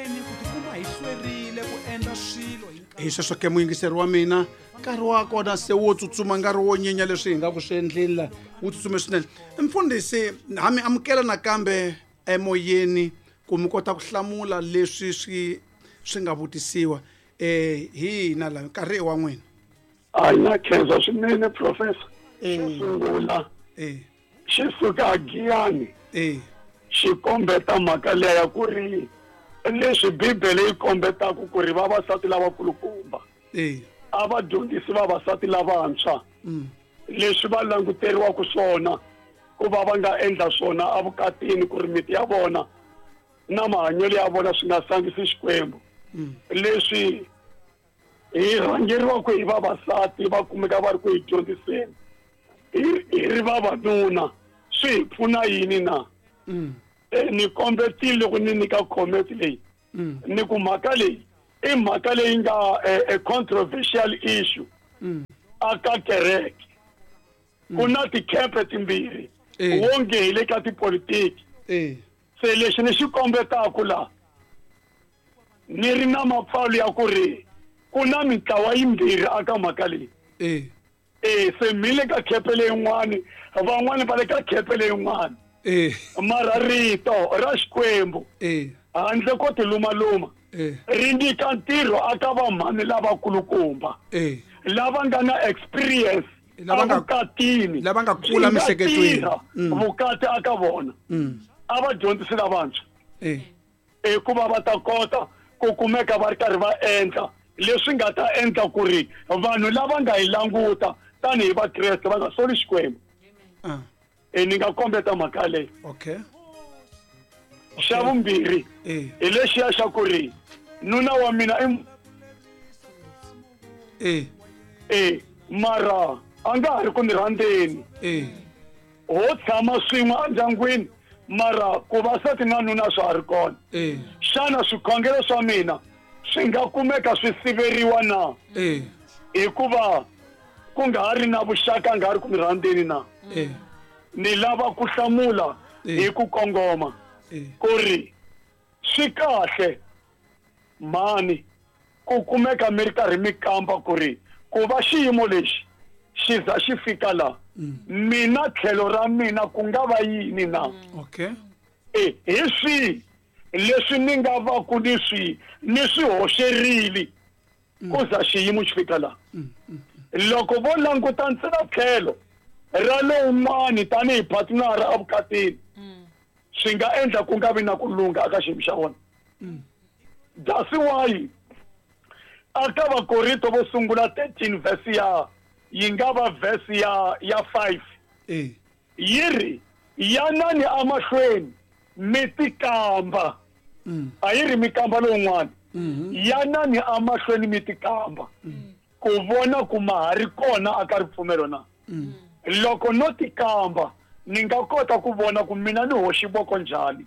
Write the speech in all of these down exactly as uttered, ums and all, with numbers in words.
hlweni ku tikuma hi hlwerile ku endla swilo hi nkarhi. Hi sweswo ke muyingiseri wa mina, nkarhi wa kona se wo tsutsuma, nkarhi wo nyenya leswi hi nga ku swi endleni la wu tsutsume swinene. Mfundhisi, ha mi amukela nakambe emoyeni ku mi kota ku hlamula leswi swi swi nga vutisiwa. Eh hi hina la, nkarhi i wa n'wina. A na khensa swinene professor. Eh. Xo sungula Eh. xi suka Giyani Eh. xi kombeta mhaka leya ya ku ri leswi Bibele yi kombetaka ku ri vavasati lavakulukumba Eh. a va dyondzisi vavasati lavantshwa Mm. leswi va languteriwaka swona ku va va nga endla swona evukatini ku ri miti ya vona na mahanyelo ya vona swi nga sangisi Xikwembu. Mm. Leswi hi rhangeriwaka hi vavasati va kumeka va ri ku hi dyondziseni hi hi ri vavanuna swi hi pfuna yini na? Mm. E, ni kombetile loko ni nyika comment leyi Mm. ni ku mhaka leyi i mhaka leyi nga a, a controversial issue Mm. aka kereke. Ku na tikhempe timbirhi Eh. wonge hi le ka tipolitiki. Eh. Se lexi ni xi kombetaka la ni ri na mapfalo ya ku ri ku na mintlawa yimbirhi aka mhaka leyi. Eh. E se mi le ka khepe leyin'wani, van'wani va le ka khepe leyin'wani. Eh. Mara rito ra Xikwembu Eh. handle ko tilumaluma Eh. ri nyika ntirho aka vamhani lavakulukumba Eh. lava nga na experience Lava nga- evukatini, lava nga kula byi nga emiehleketweni. tirha Mm. vukati aka vona. Mm. A va dyondzisi lavantshwa Eh. hikuva va ta kota ku kumeka va ri karhi va endla leswi nga ta endla ku ri vanhu lava nga hi languta tanihi Vakreste va nga soli Xikwembu. Ah. E ni nga kombeta mhaka leyi. Okay. Xa vumbirhi Eh. hi lexiya xa ku ri nuna wa mina i Eh. e mara a nga ha ri ku ni rhandzeni. Eh. Ho tshama swin'we endyangwini mara ku va sati na nuna swa ha ri kona. Eh. Xana swikhongelo swa mina swi nga kumeka swi siveriwa na? Eh. Hikuva ku nga ha ri na vuxaka, nga ha ri ku mi rhandzeni na? Eh. Ni lava ku hlamula Eh. hi ku kongoma Eh. ku ri swi kahle mhani ku kumeka mi ri karhi mi kamba ku ri ku va xiyimo lexi xi za xi fika la mina tlhelo ra mina ku nga va yini na? Okay. E hi swihi leswi ni nga va ku ni swi ni swi hoxerile ku za xiyimo xi fika la? Loko vo languta ntsena tlhelo ra lowun'wani tanihi partner evukatini swi nga endla ku nga vi na ku lungha aka xiyimo xa vona. That's why aka Vakorinto vo sungula thirteen verse ya yi nga va verse ya ya five. Eh. Yi ri yanani emahlweni mi tikamba. Mm. A yi ri mi kamba lowun'wana. Mhm. Yanani emahlweni mi tikamba ku vona ku ma ha ri kona aka ripfumelo na. Mm. Loko no tikamba ni nga kota ku vona ku mina ni hoxi voko njhani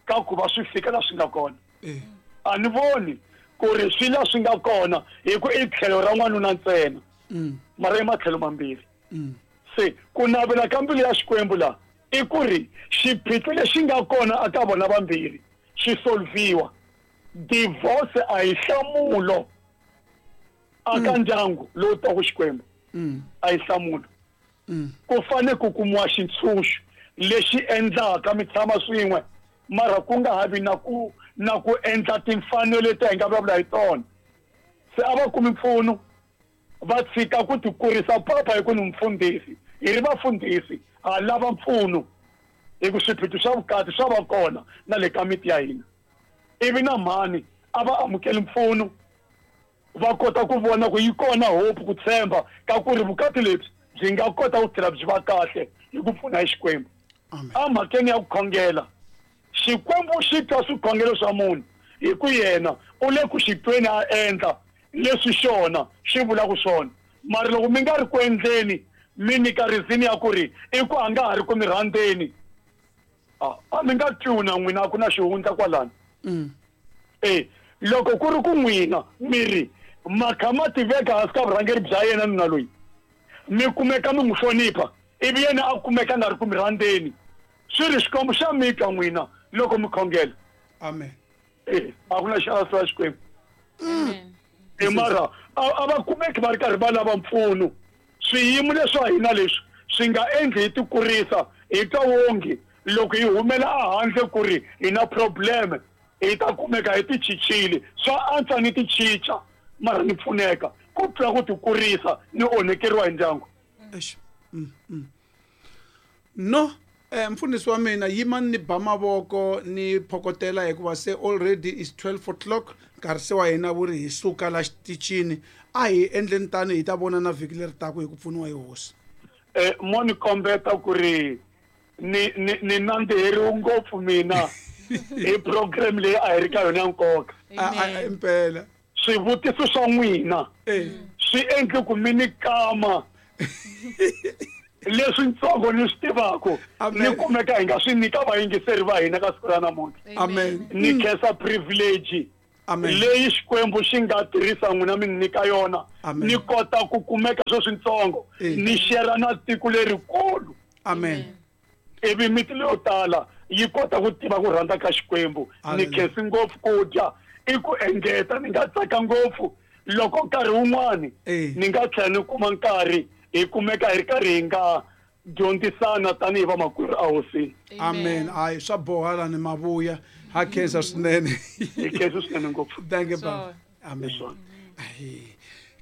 ka ku va swi fika la swi nga kona. Eh. A ni voni ku ri swi la swi nga kona hi ku i tlhelo ra n'wanuna ntsena. Mm. Mara i matlhelo mambirhi. Mm. Se ku navela ka mbilu ya Xikwembu la i ku ri xiphiqo lexi nga kona aka vona vambirhi xi solviwa. Divorce a hi nhlamulo aka ndyangu lowu twaka Xikwembu. Mm. A hi nhlamulo. Mm. Ku fane ku kumiwa xintshunxo lexi endlaka mi tshama swin'we mara ku nga ha vi na ku na ku endla timfanelo leti hi nga vulavula hi tona. Se a va kumi mpfuno va tshika ku tikurisa papa hi ku ni mfundhisi. Hi ri vafundhisi ha lava mpfuno hi ku swiphiqo swa vukati swa va kona na le ka miti ya hina. Ivi na mhani a va amukeli mpfuno va kota ku vona ku yi kona hope ku tshemba ka ku ri vukati lebyi byi nga kota ku tlhela byi va kahle hi ku pfuna hi Xikwembu. Amen. Emhakeni ya ku khongela, Xikwembu xi twa swikhongelo swa munhu hi ku yena u le ku xi tweni a endla leswi xona xi vulaka swona. Mara loko mi nga ri ku endleni mi nyika reason ya ku ri i ku a nga ha ri ku mi rhandzeni, a, a mi nga twi na n'wina a ku na xihundla kwalano. Mm. E loko ku ri ku n'wina mi ri makha ma tiveka hansi ka vurhangeri bya yena nuna loyi mi kumeka mi n'wi hlonipha ivi yena a kumeka a nga ri ku mi rhandzeni, swi ri Xikwembu xa mi twa n'wina loko mi khongela. Amen. Eh, a ku na xana swa Xikwembu. Amen. E mara a a va kumeki va ri karhi va lava mpfuno. Swiyimo leswa hina leswi swi nga endli hi tikurisa hi twa wongi loko hi humela ehandle ku ri hi na problem hi ta kumeka hi tichichile. Swa antswa ni tichicha mara ni pfuneka ku tlula ku tikurisa ni onhekeriwa hi ndyangu. Eish. Mm, mm. No, eh mfundhisi wa mina yimani ni ba mavoko ni phokotela hikuva se already is twelve o'clock nkarhi se wa hina wu ri hi suka la xitichini. A hi endleni tani hi ta vona na vhiki leri taka hi ku pfuniwa hi hosi. Eh mo ni kombeta ku ri ni ni ni nandziheriwe ngopfu mina hi program leyi a hi ri ka yona ya nkoka. A a impela. Swivutiso swa n'wina Eh swi endle ku mi ni kama leswi ntsongo ni swi tivaka Amen. ni kumeka hi nga swi nyika vayingiseri va hina ka siku ra namuntlha. Amen. Ni khensa privilege Amen. leyi Xikwembu xi nga tirhisa n'wina mi ni nyika yona. Amen. Ni kota ku kumeka sweswi ntsongo Eh. ni share na tiko lerikulu. Amen. Ivi miti leyo tala yi kota ku tiva ku rhandza ka Xikwembu. Ni Hallelujah. khensi ngopfu ku dya i ku engeta ni nga tsaka ngopfu loko nkarhi wun'wani Eh. ni nga tlhela ni kuma nkarhi hi kumeka hi ri karhi hi nga dyondzisana tanihi vamakwerhu ehosini. Amen. Hayi swa boha la ni mavuya. Ha khensa swinene. Hi khensi swinene ngopfu. Thank you baba. Amen. Swona. Ayi.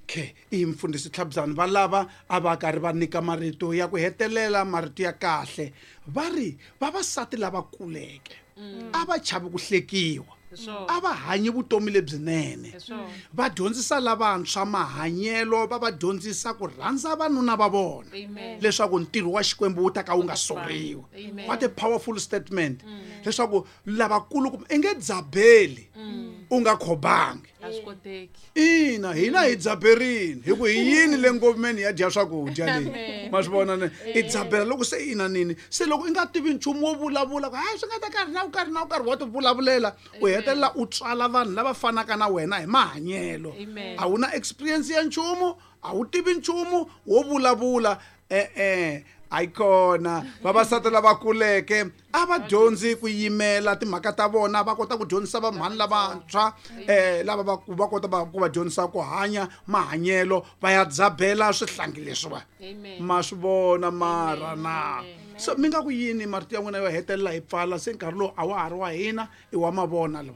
Okay, i mfundhisi Tlhabzani va lava a va karhi va nyika marito ya ku hetelela marito ya kahle. Va ri vavasati lava kuleke a va chavi ku hlekiwa. Swona. A va hanyi vutomi lebyinene. Swona. Va dyondzisa lavantshwa mahanyelo, va va dyondzisa ku rhandza vanuna va vona. Amen. Leswaku ntirho wa Xikwembu wu ta ka wu nga soriwi. Amen. What a powerful statement. Leswaku lavakulu kumbe i nge dzabeli u nga khobangi. A swi koteki. Ina, hina hi dzaberini hi ku hi yini le ngomeni ya dya swakudya leyi. Amen. Ma swi vona ne? I dzabela loko se ina nini. Se loko i nga tivi nchumu wo vulavula ku hayi swi nga ta karhi na wu karhi na wu karhi wa ti vulavulela u hetelela u tswala vanhu lava fanaka na wena hi mahanyelo. Amen. A wu na experience ya nchumu, a wu tivi nchumu wo vulavula. E-e, ayikona vavasati lava kuleke a va dyondzi ku yimela timhaka ta vona, va kota ku dyondzisa vamhani lavantshwa eh lava va va kota va ku va dyondzisa ku hanya mahanyelo va ya dzabela swihlangi leswiwa. Amen. Ma swi vona mara na. So mi nga ku yini marito ya n'wina yo hetelela hi pfala se nkarhi lowu a wa ha ri wa hina i wa mavona lowu.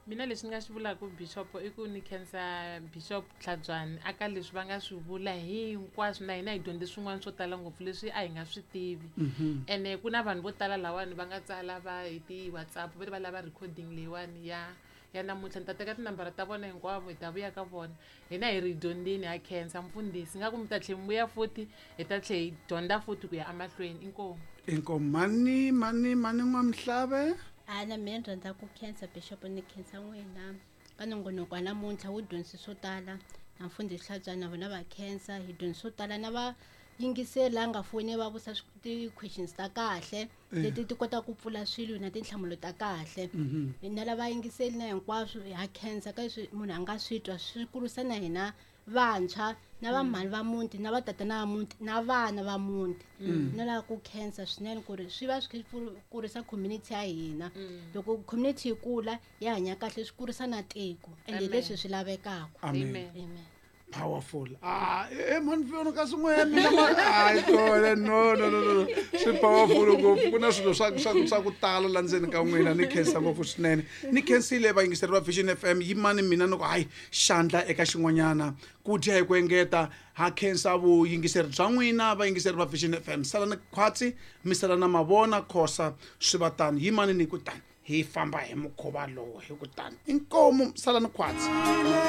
Mina leswi ni nga swi vulaka Bishop i ku ni khensa Bishop Tlhabyani aka leswi va nga swi vula hinkwaswo na hina hi dyondze swin'wana swo tala ngopfu leswi a hi nga swi tivi. Ene ku na vanhu vo tala lawani va nga tsala va hi ti-WhatsApp va ri va lava recording leyiwani ya ya namuntlha. Ni ta teka tinambara ta vona hinkwavo hi ta vuya ka vona. Hina hi ri dyondzini, ha khensa mfundhisi. Nga ku mi ta tlhe mi vuya futhi hi ta tlhe hi dyondza futhi ku ya emahlweni. Inkomu. Inkomu. Mani mani mani n'wamhlave. A na mina ni rhandza ku khensa Bishop ni khensa n'wina ka nongonoko wa namuntlha wu dyondzise swo tala na mfundhisi Tlhabyani na vona va khensa hi dyondzise swo tala na va yingiseli la nga foni va vusa ti-questions ta kahle leti ti kotaka ku pfula swilo na tinhlamulo ta kahle. Na lava yingiseli na hinkwaswo ha khensa ka leswi munhu a nga swi twa swi kurisa na hina vantshwa na vamhani va muti na vatatana va muti na vana va muti. No lava ku khensa swinene ku ri swi va swi kha swi kurisa community ya hina. Loko community yi kula yi hanya kahle swi kurisa na tiko ende leswi swi lavekaka. Amen. Amen. Powerful. Ah, eh man vona ka swin'we mina ma ai kona no no no no. Swi powerful ngopfu. Ku na swilo swa swa swa ku tala la ndzeni ka n'wina ni khensa ngopfu swinene. Ni khensile vayingiseri va Vision F M yimani mina ni ku hayi xandla eka xin'wanyana ku dya hi ku engeta. Ha khensa vuyingiseri bya n'wina vayingiseri va Vision F M. Sala ni khwatsi mi sala na mavona khosa swi va tani yimani ni ku tani hi famba hi mukhuva lowu hi ku tani inkomu sala ni khwatsi.